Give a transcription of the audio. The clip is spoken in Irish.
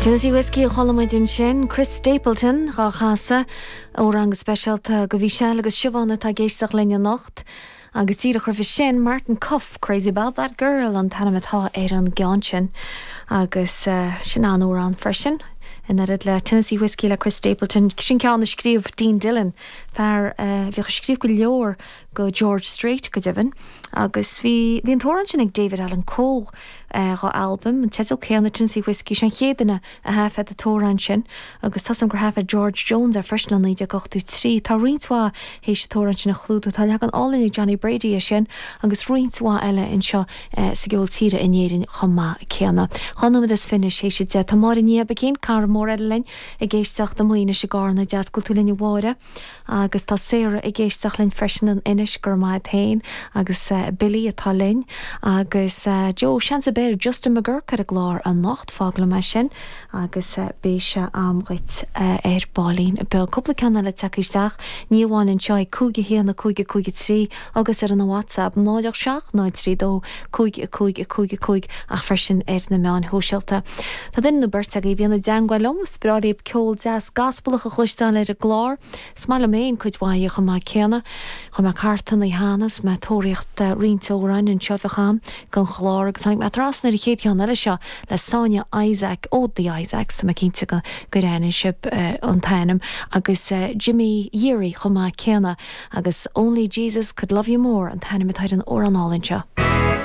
Tennessee Whiskey a chuala muid ansin, Chris Stapleton dhá chasadh, amhrán go speisialta do Mhichelle agus Siobhán atá ag éisteacht linn anocht. Agus díreach roimhe sin, Martin Cuffe, Crazy About That Girl an t-ainm atá ar an gceann sin. Agus sin an-amhrán freisin, in oiread le Tennessee Whiskey le Chris Stapleton. Sin ceann a scríobh Dean Dillon, fear a bhíodh ag scríobh go leor go George Strait, go deimhin. Agus bhí, bhí an t-amhrán sin ag David Allan Coe dhá albam, an teideal céanna, Tennessee Whiskey, sé an chéad duine a thaifead an t-amhrán sin agus tá 's agam gur thaifead George Jones é freisin i 1983. Tá roinnt mhaith théis an t-amhrán sin a chlúdú. Tá leagan álainn ag Johnny Brady as sin agus roinnt mhaith eile anseo sa gceol tíre in Éirinn chomh maith céanna. 12 nóiméad théis 10. Tá Máire Ní Oibicín, cara mór eile linn, ag éisteacht amuigh anois i gCarna. Deas go bhfuil tú linn a Mháire. Agus tá Sarah ag éisteacht linn freisin in Inis, go raibh maith a't féin, agus Billy atá linn, agus Joe, seans a beir Justin McGuirk ar an gclár anocht, fág liom é sin agus beidh sé a'm dhuit ar baillín beag. Cúpla ceann eile tagtha isteach, ní amháin anseo ag 5 1 5 5 3 agus ar an WhatsApp 0 8 7 0 3 2 5 5 5 5 ach freisin ar na meáin shóisialta. Tá duine nó beirt agaibh a bhíonn i dteangmháil liom, is breá libh ceol deas gaspalach a chloisteáil ar an gclár. Is maith liom féin cuid mhaith dhe chomh maith céanna. Chuaigh mé thart an oíche cheana is mé ag tóraíocht roinnt amhráin anseo a bheadh a'm don chlár agus tháinig mé trasna ar an chéad cheann eile seo le Sonia Isaac ó The Isaacs, tá mé cinnte go gur aithin sibh an t-ainm, agus Jimmy Yeary chomh maith céanna. Agus Only Jesus Could Love You More an t-ainm atá ar an amhrán álainn seo.